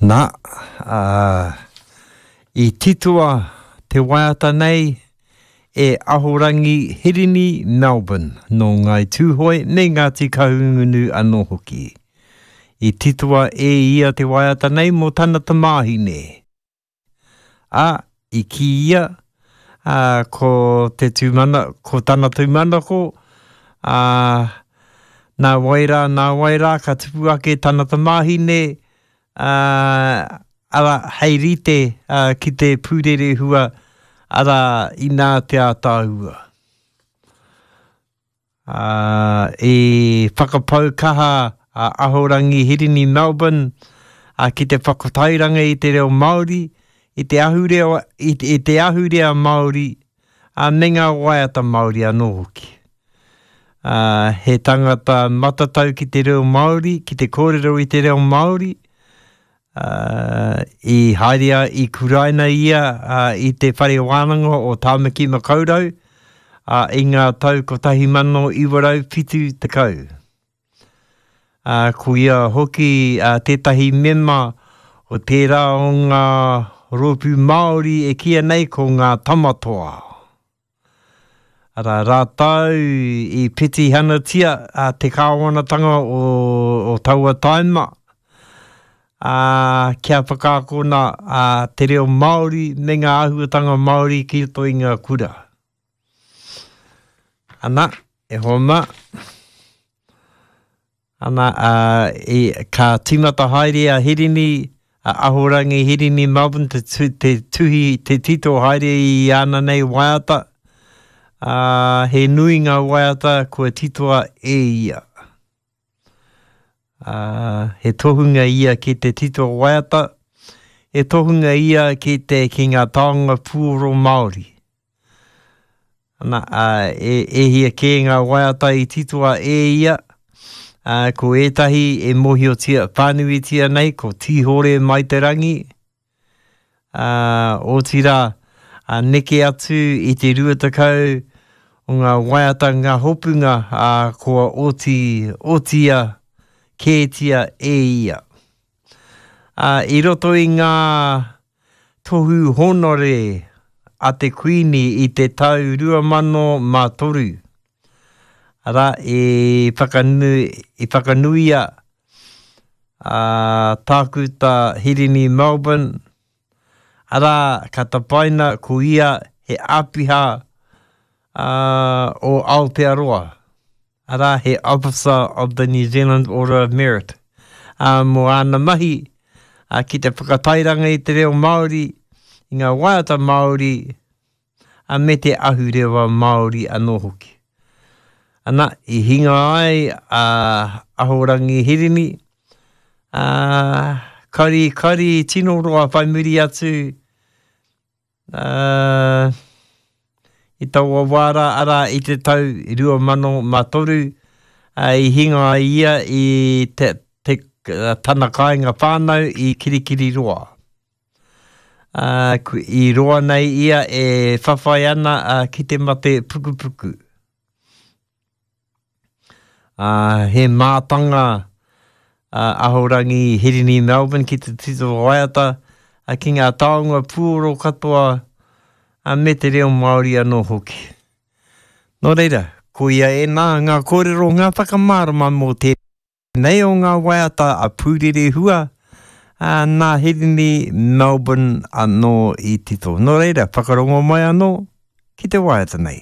Nā, ā, i titoa te waiata nei e Ahorangi Hirini Melbourne nō Ngāi Tūhoe me Ngāti Kahungunu anō hoki. I titoa e ia te waiata nei mō tana tamāhine. Ā, i kī ia, ā, ko te tūmana, ko tana tūmanako, ā, nā wai rā, nā wai rā ka tupu ake tana tamāhine, ā, arā, hei rite, ā, ki te pūrerehua, arā, inā te ātaahua. Ā, i whakapau kaha a Ahorangi Hirini Melbourne ki te whakatairanga i te reo Māori, i te ahurea, i, i te ahurea Māori, ā, me ngā waiata Māori anō hoki. Ā, he tangata matatau ki te reo Māori, ki te kōrero i te reo Māori, Ā, i haere a, i kuraina ia i te Whare Wānanga o Tāmaki Makaurau, ā, i ngā tau 1970. Ā, ko ia hoki tētahi mema o tērā o ngā rōpū Māori e kīia nei ko ngā Tamatoa. Arā, rātou i petihanatia te kāwanatanga o, o taua taima, ā, kia whakaakona ā, te reo Māori me ngā āhuatanga Māori ki roto i ngā kura. Ana, e hoa mā. Ana, ā, i, ka tīmata haere a Hirini, a Ahorangi Hirini Melbourne te, tu, te tuhi, te tito haere i āna nei waiata, ā, he nui ngā waiata kua titoa e ia. Ā, he tohunga ia ki te tito waiata, he tohunga ia ki te, ki ngā taonga puoro Māori. Ana, ā, e, e hia kē ngā waiata i titoa e ia, ā, ko ētahi e mōhiotia whānuitia nei, ko Tīhore Mai Te Rangi, ā, otirā, ā, neke atu i te 20 o ngā waiata, ngā hopunga, ā, kua oti, otia kētia e ia. Ā, i roto i ngā tohu hōnore a te Kuini i te tau 2003, arā, i whakanui, i whakanuia a Tākuta Hirini Melbourne, arā, ka tapaina ko ia he āpiha o Aotearoa. Arā, he Officer of the New Zealand Order of Merit, ā, mō āna mahi ki te whakatairanga i te reo Māori, i ngā waiata Māori, ā, me te ahurewa Māori anō hoki. Ana, i hinga ai a Ahorangi Hirini, ā, kari, kari tino roa whai muri atu, Ā, i taua wā rā, arā, i te tau 2003, ā, i hinga ai ia i te, te, tana kāinga whānau i Kirikiriroa. Ā, i roa nei ia e whawhai ana ki te mate pukupuku. Ā, he mātanga a Ahorangi Hirini Melbourne ki te tito waiata, ā, ki ngā taonga puoro katoa, ā, me te reo Māori anō hoki. Nō reira, koia ēnā ngā kōrero, ngā whakamārama mō tēnei o ngā waiata a Pūrerehua, ā, nā Hirini Melbourne anō i tito. Nō reira, whakarongo mai anō ki te waiata nei.